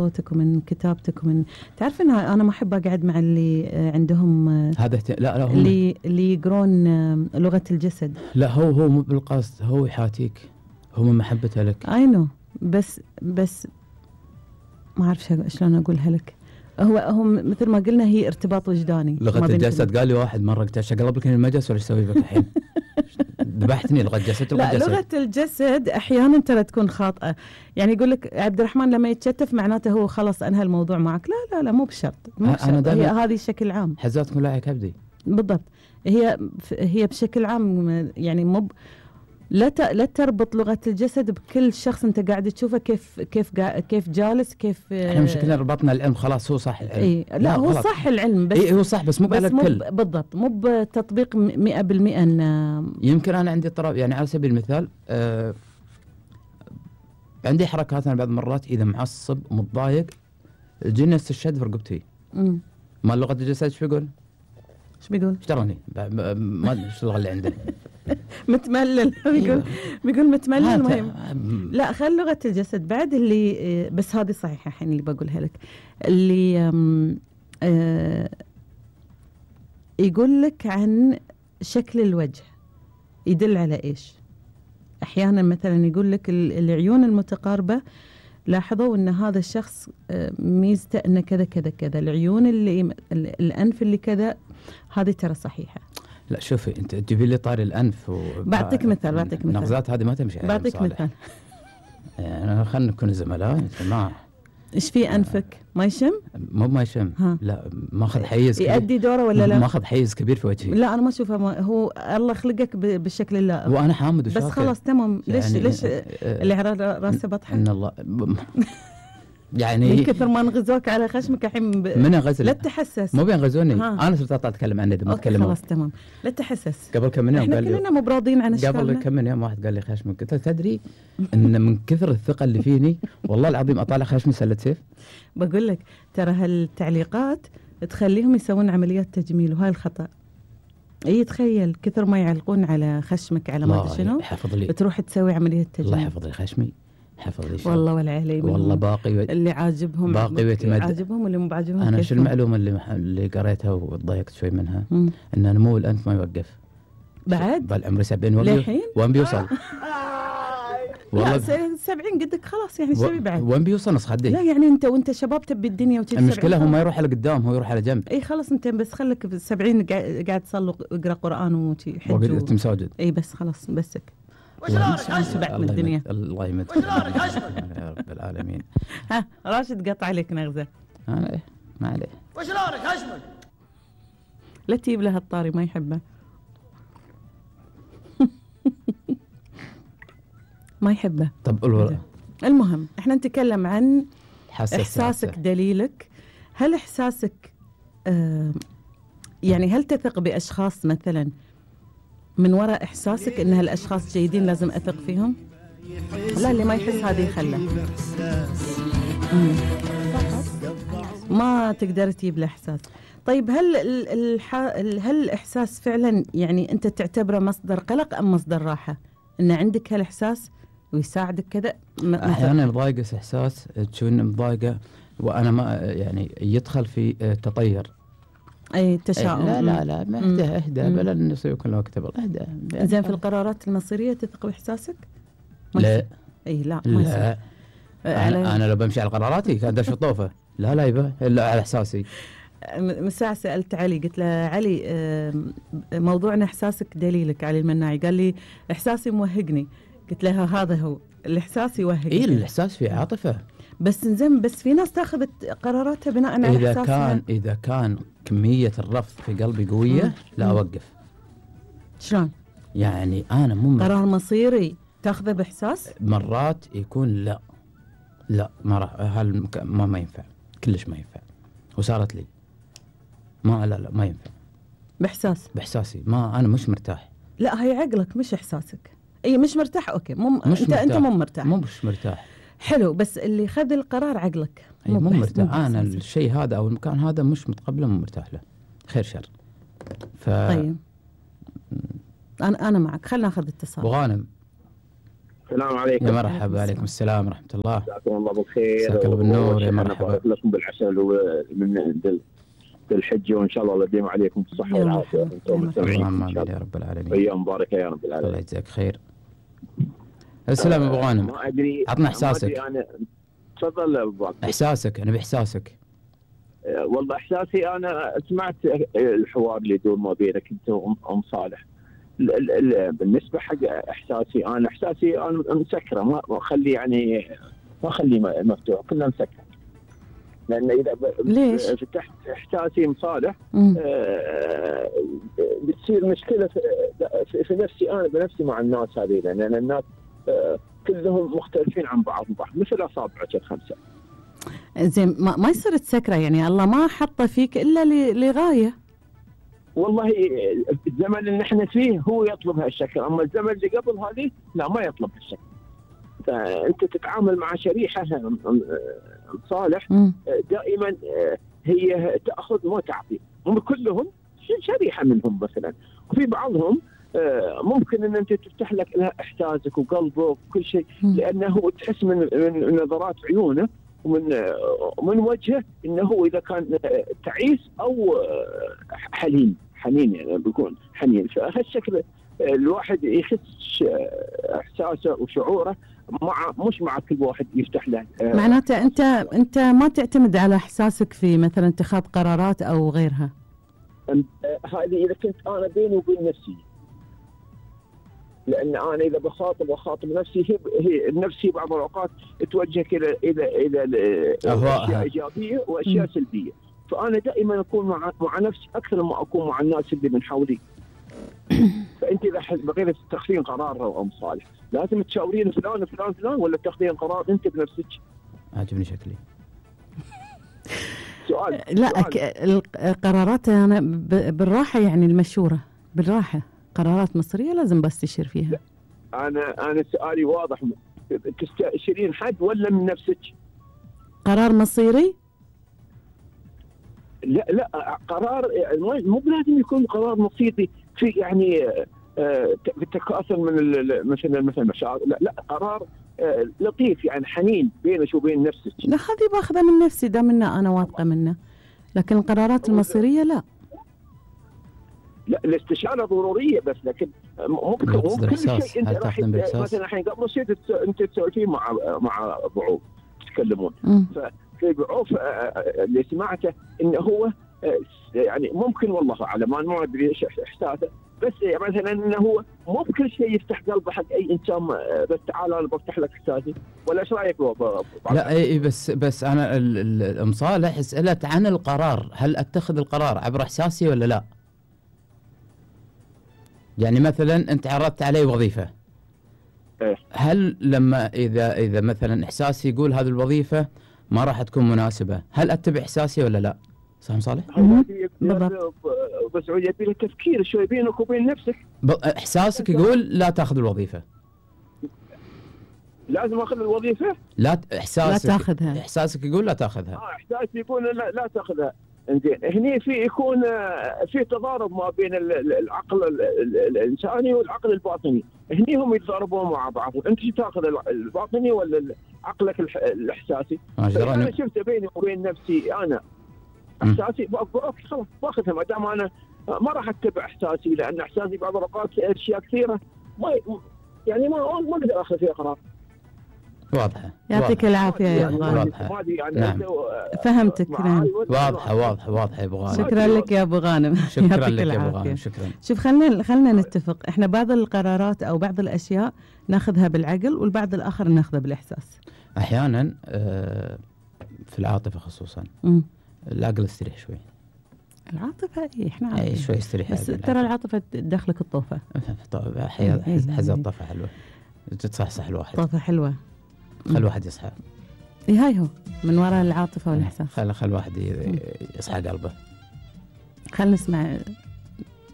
صوتك ومن كتابتك ومن تعرف إن أنا ما أحب أقعد مع اللي عندهم هذا لا هم اللي يقرون لغة الجسد. لا هو مو بالقصد، هو يحاتيك، هو من محبته لك. أينو بس ما أعرف شلون أقولها لك. هو مثل ما قلنا هي ارتباط وجداني. لغة الجسد قال لي واحد مرة قلت اقلب لك المجلس ولا ايش اسوي بك الحين؟ ذبحتني لغة جسد. لا لغة الجسد احيانا ترى تكون خاطئة، يعني يقول لك عبد الرحمن لما يتشتف معناته هو خلاص انهى الموضوع معك. لا مو بشرط، هي هذه بشكل عام. حزاتكم لا كبدي بالضبط. هي بشكل عام يعني لا تربط لغة الجسد بكل شخص انت قاعد تشوفه كيف جالس كيف. احنا مشكلة ربطنا العلم خلاص، هو صح العلم. إيه لا هو غلط. صح العلم بس هو صح بس مو على الكل. بالضبط مو بتطبيق 100%. يمكن انا عندي اضطراب، يعني على سبيل المثال عندي حركات انا بعض المرات اذا معصب ومتضايق تجيني الشد في رقبتي. ما لغة الجسد ايش بيقول؟ ايش تراني ما ادري ايش اللغة اللي عنده. متملل. بيقول متملل. المهم لا خل لغة الجسد بعد اللي بس هذه صحيحة الحين اللي بقولها لك، اللي يقول لك عن شكل الوجه يدل على ايش. احيانا مثلا يقول لك العيون المتقاربة لاحظوا ان هذا الشخص ميزته انه كذا كذا كذا، العيون اللي الانف اللي كذا، هذه ترى صحيحة. لا شوفي انت تجيبي لي طاري الانف بعطيك مثال النغزات هذه ما تمشي. بعطيك مثال. يعني خلينا نكون زملاء يا جماعه. ايش في انفك ما يشم؟ مو ما يشم. لا ماخذ حيز كبير. يؤدي دوره ولا لا؟ ماخذ حيز كبير في وجهي. لا انا ما اشوفه، هو الله خلقك بالشكل اللائق. وانا حامد وشاكر بس خلاص تمام. يعني ليش اللي على راسه بطحه؟ ان الله يعني من كثر ما نغزوك على خشمك الحين من غزل. لا تحسس. مو بينغزوني انا صرت اتكلم عنه ما اتكلم. خلاص تمام لا تحسس. قبل كم يوم قال لي كلنا مو براضين عن اشكالنا. قبل كم يوم واحد قال لي خشمك، قلت تدري ان من كثر الثقه اللي فيني والله العظيم اطالع خشمي سله سيف. بقول لك ترى هالتعليقات تخليهم يسوون عمليات تجميل وهاي الخطا. اي تخيل كثر ما يعلقون على خشمك على ما ادري شنو تروح تسوي عمليه تجميل. الله يحفظ لي خشمي، حفظ لي والله ولا علي. والله باقي اللي عاجبهم باقي ويتمد. عاجبهم واللي مو بعاجبهم. انا شو المعلومه اللي قريتها وتضايقت شوي منها؟ ان نمو الانف ما يوقف بعد بالعمر 70 وين بيوصل؟ والله 70 قدك خلاص يعني شوي بعد. وين بيوصل نص خدي؟ لا يعني انت شباب تبي الدنيا وتجي. المشكله هو ما يروح على قدام، هو يروح على جنب. اي خلاص انت بس خليك في 70 قاعد تصلي اقرا قران وحج وقعدت مساجد. اي بس خلاص بسك. شبعت من الدنيا. الله يمدك يا رب العالمين. ها راشد قطع عليك نغزه. انا ايه ما عليه. وش لونك هشمك؟ لا تجيب له الطاري ما يحبه. ما يحبه. طب المهم احنا نتكلم عن احساسك دليلك. هل احساسك يعني هل تثق باشخاص مثلا من وراء احساسك ان هالاشخاص جيدين لازم اثق فيهم؟ لا اللي ما يحس هذه يخله. ما تقدر تجيب له احساس. طيب هل الاحساس فعلا يعني انت تعتبره مصدر قلق ام مصدر راحه؟ ان عندك هالاحساس ويساعدك كذا؟ احيانا يضايقس احساس تشوفني مضايقه وانا ما يعني يدخل في تطير. اي تشاؤم. لا ما اهدى بلا نسوي كل وقت اهدى. زين في القرارات المصيريه تثق باحساسك؟ لا اي لا ما أنا لو بمشي على قراراتي كان دش الطوفه. لا يبا الا على احساسي. من ساعة سألت علي قلت له علي موضوعنا احساسك دليلك. علي المناعي قال لي احساسي موهقني. قلت له هذا هو الاحساس يوهق. اي الاحساس في عاطفه بس زين بس في ناس تاخذ قراراتها بناء على احساسها. اذا كان كميه الرفض في قلبي قويه لا اوقف. شلون يعني انا مو قرار مصيري تاخذه باحساس؟ مرات يكون لا ما راح ما ينفع كلش ما ينفع. وصارت لي ما ينفع باحساسي ما انا مش مرتاح. لا هي عقلك مش احساسك. اي مش مرتاح اوكي انت مو مرتاح. مش مرتاح. حلو بس اللي خذ القرار عقلك مو مرتاح. انا الشيء هذا او المكان هذا مش متقبله مو مرتاح له خير شر. طيب انا معك. خلينا ناخذ اتصال. ابو غانم السلام عليكم. يا مرحبا. عليكم السلام ورحمة الله. جزاكم الله بالخير. جزاك الله بالنور. يا مرحبا لكم بالعسل ومن الحج، وان شاء الله يديم عليكم الصحة والعافية وانتم مستمعين. اللهم يا رب العالمين. ايام مباركة يا رب العالمين. الله يجزاك خير. السلام ابو غانم. ما ادري، عطنا احساسك. انا تفضل ابو عبد. احساسك، انا باحساسك. والله احساسي، انا سمعت الحوار اللي يدور ما بينك انت وام صالح. بالنسبه حق احساسي انا مسكره، ما اخلي يعني ما اخليه مفتوح، كله مسكر. لان اذا ليش فتحت احساسي مصالح بتصير مشكله في نفسي انا بنفسي مع الناس هذه، لان الناس كلهم مختلفين عن بعض مثل اصابعك الخمسه. زين ما يصير تسكره، يعني الله ما حطه فيك الا لغايه. والله الزمن اللي احنا فيه هو يطلب هالشكل، اما الزمن اللي قبل هذه لا، ما يطلب هالشكل. فانت تتعامل مع شريحه صالح دائما هي تاخذ ما تعطي، هم كلهم شريحه منهم مثلا، وفي بعضهم ممكن ان انت تفتح لك لها احساسك وقلبك وكل شيء، لانه تحس من نظرات عيونه ومن وجهه انه هو اذا كان تعيس او حنين يعني بيكون حنين. فهالشكل الواحد يحس احساسه وشعوره مش مع كل واحد يفتح له. معناته انت ما تعتمد على احساسك في مثلا اتخاذ قرارات او غيرها. هذه اذا كنت انا بيني وبين نفسي، لان انا اذا بخاطب نفسي، هي نفسي بعض الاوقات توجه الى اشياء ايجابيه واشياء سلبيه، فانا دائما اكون مع نفسي اكثر ما اكون مع الناس اللي من حولي. فانت اذا بغيت تاخذين قرار او صالح، لازم تشاورين فلان ولا تاخذين قرار انت بنفسك. عجبني شكلي. لا القرارات انا بالراحه، يعني المشوره بالراحه، قرارات مصيريه لازم بستشير فيها. انا سؤالي واضح، تستشيرين حد ولا من نفسك؟ قرار مصيري؟ لا قرار مو لازم يكون قرار مصيري في يعني التكاثر من مثل مشاعر، لا قرار لطيف يعني حنين بينك وبين نفسك. لا هذه باخذها من نفسي، ده منه انا واثقه منه، لكن القرارات المصيريه لا. الاستشاره ضروريه، بس لكن ممكن كل شيء انت راح مثلا الحين قبل شيء انت تسولفين مع بعوف تتكلمون، ففي بعوف اللي سمعته انه هو يعني ممكن والله اعلم، انا ما ادري ايش احساسه، بس مثلا انه هو مو بكل شيء يفتح قلبه حق اي انسان، بس تعال انا بفتح لك احساسي، ولا ايش رايك؟ لا اي بس انا ام صالح سالت عن القرار، هل اتخذ القرار عبر احساسي ولا لا؟ يعني مثلا انت عرضت علي وظيفه، هل لما اذا مثلا احساسي يقول هذه الوظيفه ما راح تكون مناسبه، هل اتبع احساسي ولا لا؟ صح صالح؟ بالضبط. بس يبي له تفكير شوي بينك وبين نفسك. احساسك يقول لا تاخذ الوظيفه، لازم اخذ الوظيفه؟ لا احساسك لا تاخذها. احساسك يقول لا تاخذها. احساسي يقول لا تاخذها. انزين هني يكون في تضارب ما بين العقل الانساني والعقل الباطني، هني هم يتضاربون مع بعض، انت شو تاخذ الباطني ولا عقلك الاحساسي؟ انا شفت بيني وبين نفسي انا احساسي اوكي خلاص باخذها، ما دام انا ما راح اتبع احساسي، لان احساسي بعض الاوقات اشياء كثيره ما اقدر اخذ فيها قرار. واضحه. يعطيك العافيه يا ابو غانم. واضحه. يعني نعم. فهمتك. نعم. واضحه يا ابو غانم. شكرا لك يا ابو غانم. شكرا لك يا ابو غانم. شكرا. شوف خلينا نتفق، احنا بعض القرارات او بعض الاشياء ناخذها بالعقل، والبعض الاخر ناخذه بالاحساس. احيانا في العاطفه خصوصا العقل يستريح شوي. العاطفه احنا عارفين شوي يستريح، بس ترى العاطفه تدخلك الطوفه. حزة الطفه حلوه، تتصحصح الواحد. طوفه حلوه، خل الواحد يصحى. هاي هو من وراء العاطفه والاحساس. خل الواحد يصحى قلبه. خل نسمع